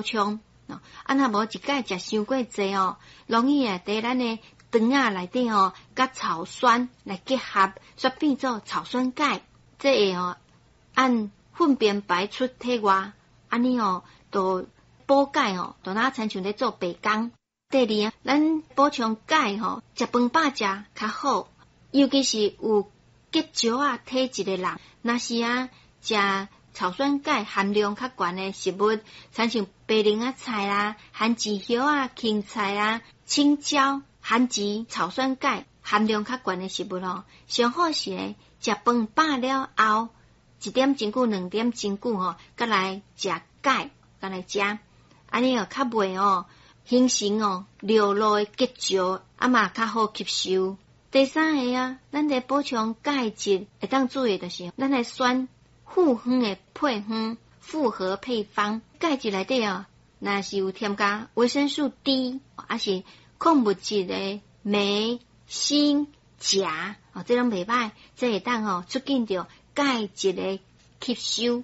充。啊，若無一擺食傷過濟哦，容易會佇咱的腸仔內底吼，佮草酸來結合，煞變做草酸鈣，這會吼按糞便排出體外，按呢吼，就補鈣吼，就若親像咧做白工。第二，咱補充鈣吼，食飯飽食較好，尤其是有結石仔體質的人，若是啊食草酸鈣含量較懸的食物，親像白靈仔菜啦、番薯葉仔、芹菜啊、青椒，番薯草酸鈣含量較懸的食物吼，上好是咧食飯飽了後，一點鐘久、兩點鐘久吼，閣來食鈣，閣來食，按呢哦較袂哦形成哦尿路的結石，啊嘛較好吸收。第三个啊，咱咧補充鈣質會當注意，就是咱來選複方的配方，複合配方，鈣質內底哦，若是有添加維生素 D，抑是礦物質的鎂、鋅、鉀，哦，這攏袂䆀，這會當吼促進著鈣質的吸收。